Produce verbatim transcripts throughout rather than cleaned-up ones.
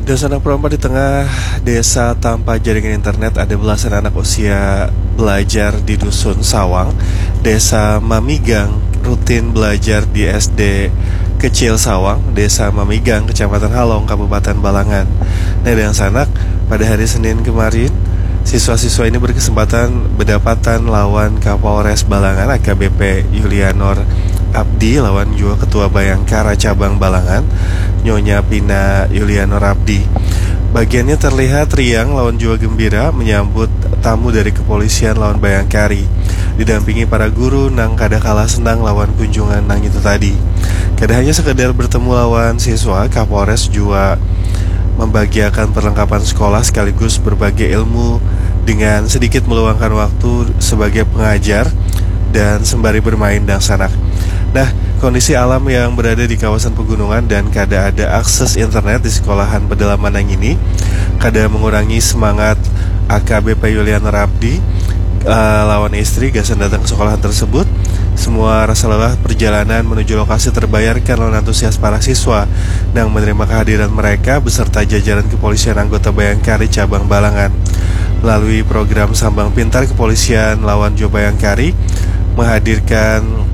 Dasana Pro empat, di tengah desa tanpa jaringan internet, ada belasan anak usia belajar di Dusun Sawang, Desa Mamigang, rutin belajar di S D Kecil Sawang, Desa Mamigang, Kecamatan Halong, Kabupaten Balangan. Nah, dangsanak, pada hari Senin kemarin, siswa-siswa ini berkesempatan berdapatan lawan Kapolres Balangan, A K B P Yulianor Abdi, lawan jua Ketua Bayangkara Cabang Balangan, Nyonya Pina Yulianor Abdi. Bagiannya terlihat riang lawan jua gembira menyambut tamu dari kepolisian lawan Bayangkari, didampingi para guru nang kada kalah senang lawan kunjungan nang itu tadi. Kada hanya sekedar bertemu lawan siswa, Kapolres jua membagiakan perlengkapan sekolah sekaligus berbagi ilmu dengan sedikit meluangkan waktu sebagai pengajar dan sembari bermain dangsanak. Nah, kondisi alam yang berada di kawasan pegunungan dan kada ada akses internet di sekolahan pedalaman nang ini kada mengurangi semangat A K B P Yulianor Abdi, eh, lawan istri gasan datang ke sekolahan tersebut. Semua rasa lelah perjalanan menuju lokasi terbayarkan lawan antusias para siswa nang menerima kehadiran mereka beserta jajaran kepolisian anggota Bayangkari Cabang Balangan. Melalui program Sambang Pintar, kepolisian lawan jua Bayangkari menghadirkan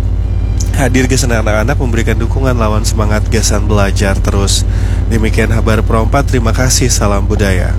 hadir gasan anak-anak, memberikan dukungan lawan semangat gasan belajar terus. Demikian Habar Pro empat, terima kasih, salam budaya.